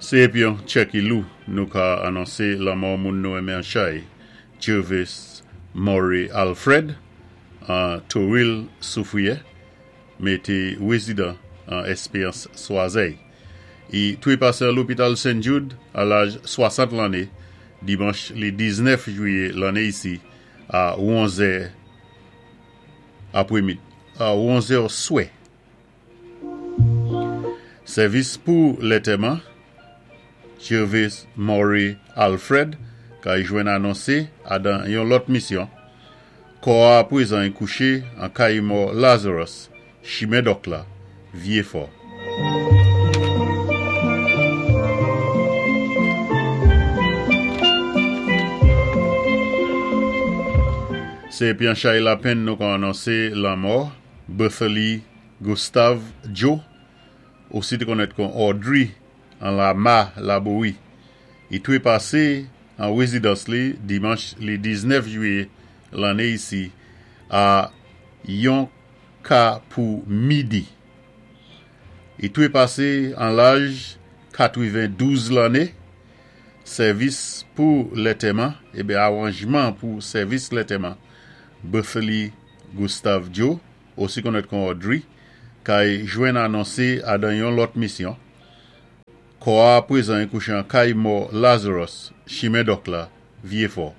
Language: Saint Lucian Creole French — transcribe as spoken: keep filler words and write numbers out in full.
Sé épi yon tjè ki lou nou ka anonsé lanmò moun nou enmen an chay, Jervis Murray Alfred, an Toril Soufrière, mé té wézidan an Espérance Swazey. I twé pasé an lopital Saint Jude a laj swasant lanné, dimanch li diznèf jwiyé lanné isi, a onzè apwémidi, a onzè swè. Sèvis pou lantèman, Jervis Murray Alfred, kay jwenn anonsé adan yon lòt misyon. Kò a pwézan i kouché an kay mò Lazarus, chimen Dòk la, Vyéfò. Sé épi an chay lapenn nou ka anonsé lanmò Berthely Gustave Joe, osi té konnèt kon Audrey an Lama Laboui. I twé pasé an wézidans li dimanch li diznèf jwiyé lanné isi a yon ka pou midi. I twé pasé an laj katwenn-douz lanné. Sèvis pou lantèman, ében awanjman pou sèvis lantèman Berthely Gustave Joe, osi konnèt kon Audrey, kay jwenn anonsé adan yon lòt misyon. Kò a pwézan i kouché an kay mò Lazarus, chimen Dòk la, Vyéfò.